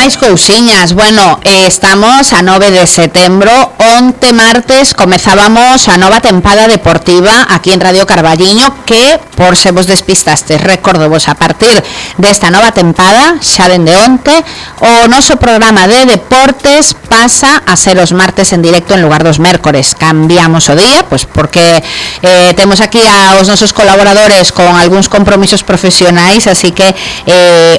máis cousiñas. Bueno, estamos a 9 de setembro. Onte martes comezábamos a nova tempada deportiva aquí en Radio Carballiño, que, por se vos despistastes, recordo vos, a partir desta nova tempada, xa dende onte, o noso programa de deportes pasa a ser os martes en directo en lugar dos mércores. Cambiamos o día, pois porque temos aquí aos nosos colaboradores con algúns compromisos profesionais, así que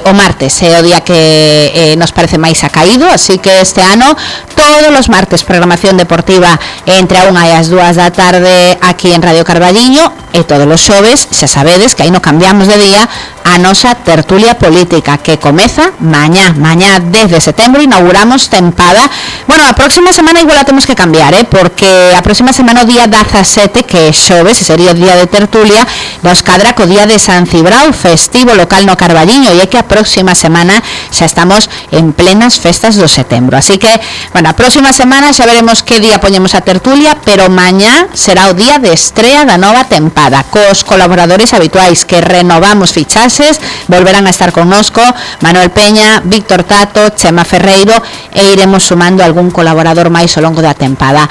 o martes é o día que nos parece máis acaído, así que este ano todos os martes programación deportiva entre a 1 e as 2 da tarde aquí en Radio Carballiño, e todos os xoves xa sabedes que aí non cambiamos de día a nosa tertulia política, que comeza mañá 10 de setembro, inauguramos tempada. Bueno, a próxima semana igual a temos que cambiar, porque a próxima semana o día 17, que é xoves, e sería o día de tertulia, nos cadra co día de San Cibrao, festivo local no Carballiño, e é que a próxima semana xa estamos en plenas festas do setembro. Así que, bueno, a próxima semana xa veremos que día poñemos a tertulia, pero mañá será o día de estrea da nova tempada, cos colaboradores habituais que renovamos fichaxes, volverán a estar connosco Manuel Peña, Víctor Tato, Chema Ferreiro, e iremos sumando algún colaborador máis ao longo da tempada.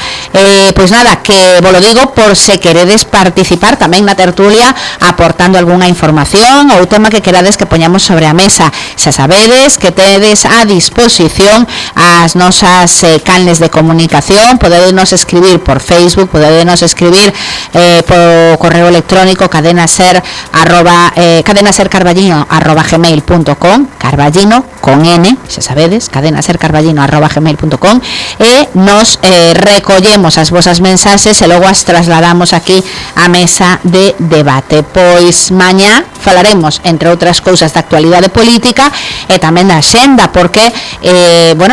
Pois nada, que vos lo digo por se queredes participar tamén na tertulia, aportando algunha información ou tema que querades que poñamos sobre a mesa. Xa sabedes que tedes a disposición as nosas canles de comunicación, podedenos escribir por Facebook, podedenos escribir por correo electrónico cadenasercarballiño@gmail.com, Carballiño con N, xa sabedes, cadenasercarballiño@gmail.com, e nos recollemos as vosas mensaxes e logo as trasladamos aquí á mesa de debate. Pois mañá falaremos, entre outras cousas, da actualidade política e tamén da axenda, porque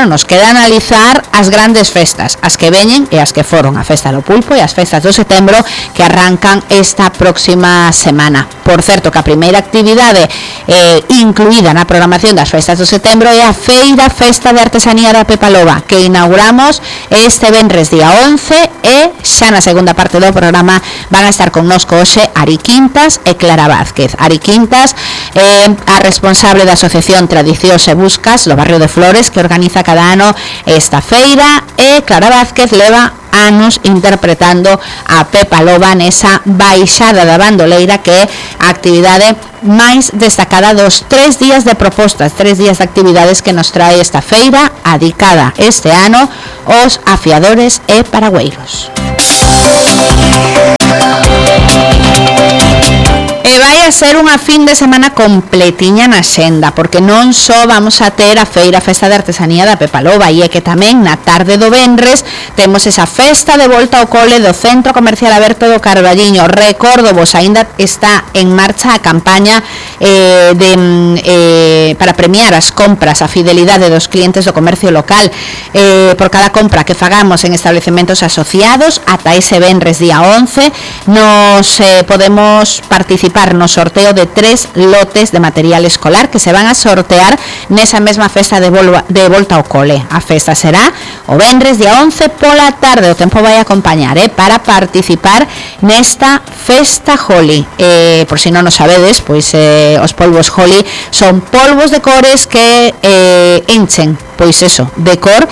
nos queda analizar as grandes festas, as que veñen e as que foron, a festa do pulpo e as festas do setembro, que arrancan esta próxima semana. Por certo, que a primeira actividade incluída na programación das festas do setembro é a Festa de Artesanía da Pepa Loba, que inauguramos este venres día 11, e xa na segunda parte do programa van a estar connosco hoxe Ari Quintas e Clara Vázquez. Ari Quintas a responsable da Asociación Tradicións e Buscas do barrio de Flores, que organiza cada ano esta feira, e Clara Vázquez leva anos interpretando a Pepa Loba nesa baixada da bandoleira, que é a actividade máis destacada dos 3 días de propostas, 3 días de actividades que nos trae esta feira, adicada este ano aos afiadores e paragüeiros. E vai a ser unha fin de semana completiña na xenda, porque non só vamos a ter a Festa de Artesanía da Pepa Loba, e é que tamén na tarde do venres temos esa festa de volta ao cole do Centro Comercial Aberto do Carballiño. Recordo vos, aínda está en marcha a campaña para premiar as compras, a fidelidade dos clientes do comercio local. Por cada compra que fagamos en establecementos asociados ata ese venres día 11, nos podemos participar no sorteo de 3 lotes de material escolar que se van a sortear nesa mesma festa de volta ao cole. A festa será o venres día 11 pola tarde, o tempo vai acompañar para participar nesta festa Holi. Por si non o sabedes, pois os polvos Holi son polvos de cores que enchen, pois eso, de cor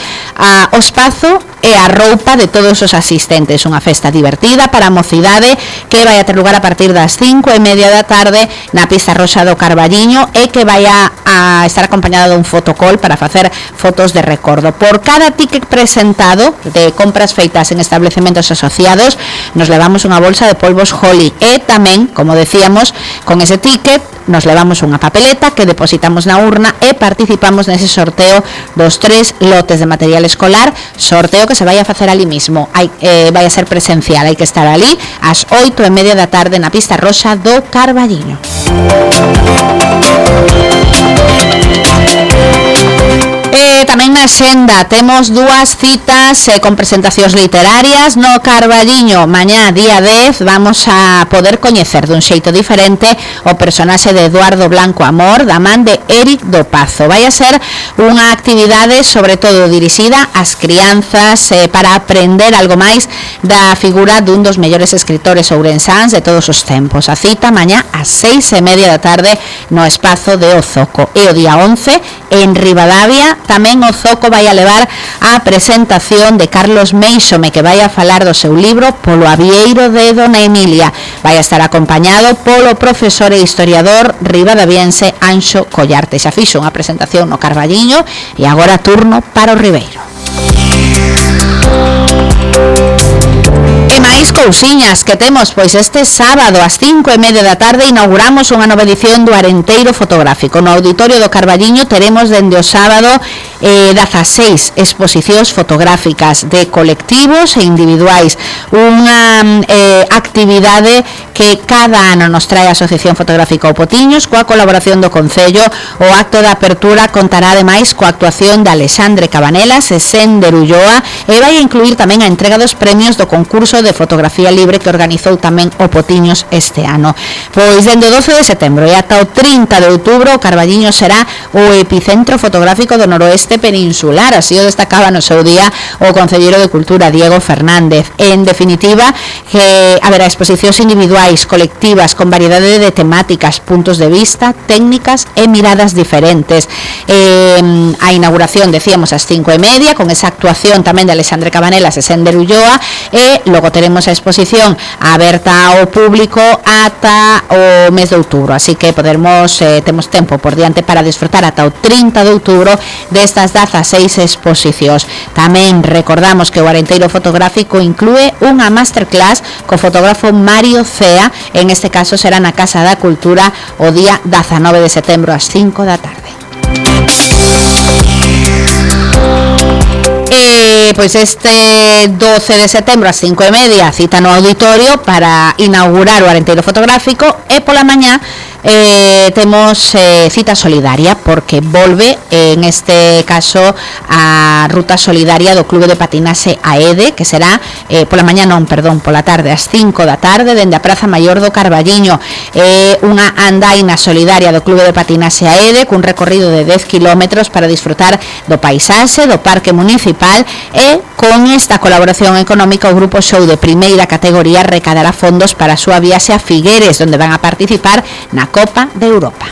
o espazo e a roupa de todos os asistentes. Unha festa divertida para a mocidade que vai a ter lugar a partir das 5:30 da tarde na pista roxa do Carballiño, e que vai a estar acompañada dun fotocall para facer fotos de recordo. Por cada ticket presentado de compras feitas en establecementos asociados, nos levamos unha bolsa de polvos Holi, e tamén, como decíamos, con ese ticket nos levamos unha papeleta que depositamos na urna e participamos nese sorteo dos 3 lotes de material escolar, sorteo que se vai a facer ali mismo. Vai a ser presencial, hai que estar ali ás 8:30 da tarde na pista roxa do Carballiño. Tamén na axenda, temos dúas citas con presentacións literarias no Carballiño. Mañá, día 10, vamos a poder coñecer dun xeito diferente o personaxe de Eduardo Blanco Amor, da man de Éric do Pazo. Vai a ser unha actividade sobre todo dirixida ás crianzas para aprender algo máis da figura dun dos mellores escritores ourensáns de todos os tempos. A cita mañá ás 6:30 da tarde no espazo de O Zoco. E o día 11, en Ribadavia, tamén o Zoco vai a levar a presentación de Carlos Meixome, que vai a falar do seu libro Polo Avieiro de Dona Emilia. Vai a estar acompañado polo profesor e historiador ribadaviense Anxo Collarte. Xa fixo unha presentación no Carballiño e agora turno para o Ribeiro. E máis cousiñas que temos, pois este sábado ás 5:30 da tarde inauguramos unha nova edición do Arenteiro Fotográfico. No Auditorio do Carballiño teremos dende o sábado 16 exposicións fotográficas de colectivos e individuais, unha actividade que cada ano nos trae a Asociación Fotográfica O Potiños coa colaboración do Concello. O acto de apertura contará ademais coa actuación de Alexandre Cabanelas e Sender Ulloa e vai a incluir tamén a entrega dos premios do concurso de fotografía libre que organizou tamén O Potiños este ano. Pois dende o 12 de setembro e ata o 30 de outubro o Carballiño será o epicentro fotográfico do noroeste peninsular, así o destacaba no seu día o concelleiro de Cultura Diego Fernández. En definitiva, que haberá exposicións individuais, colectivas, con variedade de temáticas, puntos de vista, técnicas e miradas diferentes. A inauguración, decíamos, ás 5:30, con esa actuación tamén de Alexandre Cabanelas e Sender Ulloa, e logo teremos a exposición aberta ao público ata o mes de outubro, así que temos tempo por diante para disfrutar ata o 30 de outubro destas 16 exposicións. Tamén recordamos que o Arenteiro Fotográfico inclúe unha masterclass co fotógrafo Mario Cea, en este caso será na Casa da Cultura o día 19 de setembro ás 5 da tarde. Pois este 12 de setembro ás 5:30 cita no auditorio para inaugurar o Arenteiro Fotográfico e pola mañá temos cita solidaria porque volve en este caso a ruta solidaria do Clube de Patinaxe AEDE, que será pola tarde ás 5 da tarde dende a Praza Maior do Carballiño. Unha andaina solidaria do Clube de Patinaxe AEDE cun recorrido de 10 km para disfrutar do paisaxe do Parque Municipal, e con esta colaboración económica o Grupo Show de primeira categoría recadará fondos para a súa viaxe a Figueres, onde van a participar na Copa de Europa.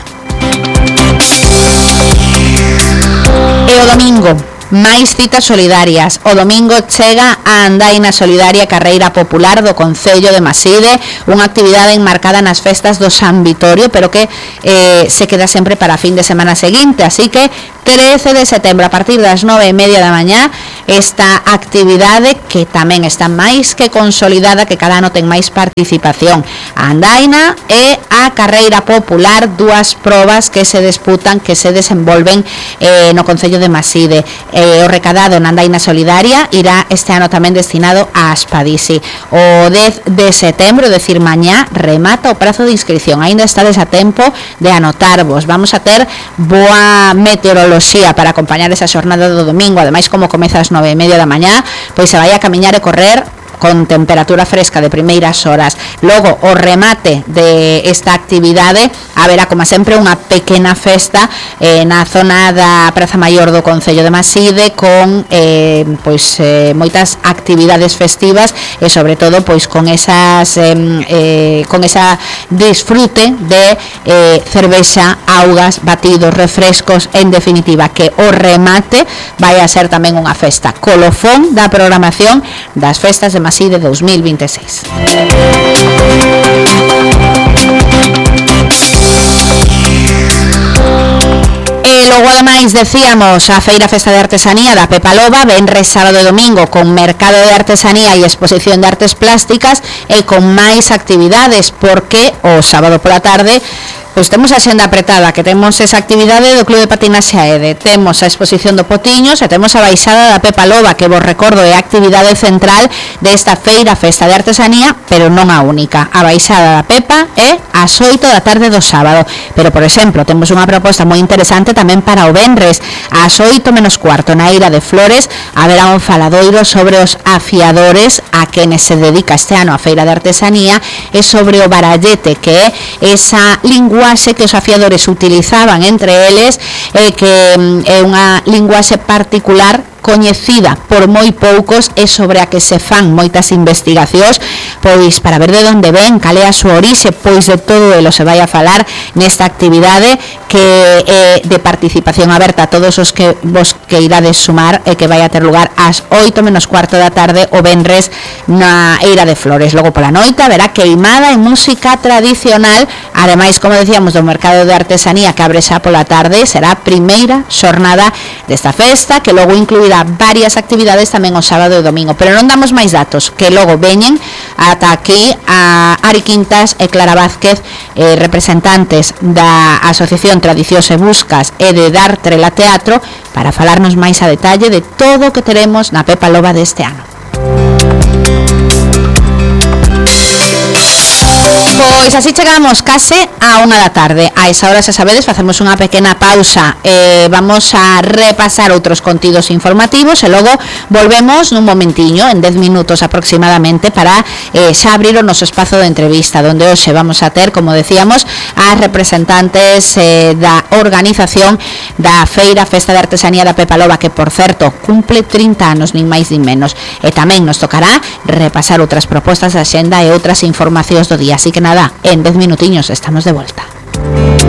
E o domingo, máis citas solidarias. O domingo chega a andaina solidaria Carreira Popular do Concello de Maside, unha actividade enmarcada nas festas do San Vitorio, pero que se queda sempre para a fin de semana seguinte, así que 13 de setembro a partir das 9:30 da mañá esta actividade que tamén está máis que consolidada, que cada ano ten máis participación. A andaina e a Carreira Popular, dúas probas que se disputan, que se desenvolven no Concello de Maside. O recadado na andaina solidaria irá este ano tamén destinado a Aspadisi. O 10 de setembro, decir mañá, remata o prazo de inscripción. Ainda estades a tempo de anotarvos. Vamos a ter boa meteoroloxía para acompañar esa xornada do domingo. Ademais, como comeza ás 9:30 da mañá, pois se vai a camiñar e correr con temperatura fresca de primeiras horas. Logo, o remate de esta actividade haberá, como sempre, unha pequena festa na zona da Praza Maior do Concello de Maside con moitas actividades festivas e sobre todo pois con esa disfrute de cervexa, augas, batidos, refrescos, en definitiva que o remate vai a ser tamén unha festa colofón da programación das festas de Maside 2026. E logo, ademais, decíamos a Feira Festa de Artesanía da Pepa Loba, venres, sábado e domingo, con mercado de artesanía e exposición de artes plásticas e con máis actividades, porque o sábado pola tarde Pois temos a xenda apretada, que temos esa actividade do Club de Patinaxe Aede, temos a exposición do Potiños e temos a baixada da Pepa Loba, que vos recordo é a actividade central desta feira, festa de artesanía, pero non a única. A baixada da Pepa é ás 8 da tarde do sábado, pero, por exemplo, temos unha proposta moi interesante tamén para o venres, ás 8 menos cuarto, na Eira de Flores, haberá un faladoiro sobre os afiadores a quenes se dedica este ano a feira de artesanía e sobre o barallete, que é esa linguaxe que os afiadores utilizaban entre eles, que é unha linguaxe particular coñecida por moi poucos e sobre a que se fan moitas investigacións, pois para ver de onde ven, cal é a súa orixe, pois de todo elo se vai a falar nesta actividade que é de participación aberta a todos os que vos que irades sumar e que vai a ter lugar ás 8 menos cuarto da tarde o venres na Eira de Flores. Logo pola noite haberá queimada e música tradicional, ademais, como decíamos, do mercado de artesanía que abre xa pola tarde, será a primeira xornada desta festa, que logo incluirá varias actividades tamén o sábado e domingo, pero non damos máis datos, que logo veñen ata aquí a Ari Quintas e Clara Vázquez, representantes da Asociación Tradicións e Buscas e de Dartrela Teatro, para falarnos máis a detalle de todo o que teremos na Pepa Loba deste ano. Pois así chegamos case a 1 da tarde. A esa hora, xa sabedes, facemos unha pequena pausa, vamos a repasar outros contidos informativos e logo volvemos nun momentiño, en 10 minutos aproximadamente, para xa abrir o noso espazo de entrevista, onde hoxe vamos a ter, como decíamos, as representantes da organización da Feira Festa de Artesanía da Pepa Loba, que, por certo, cumple 30 anos, nin máis nin menos, e tamén nos tocará repasar outras propostas da xenda e outras informacións do día. Así que nada, en 10 minutiños estamos de volta.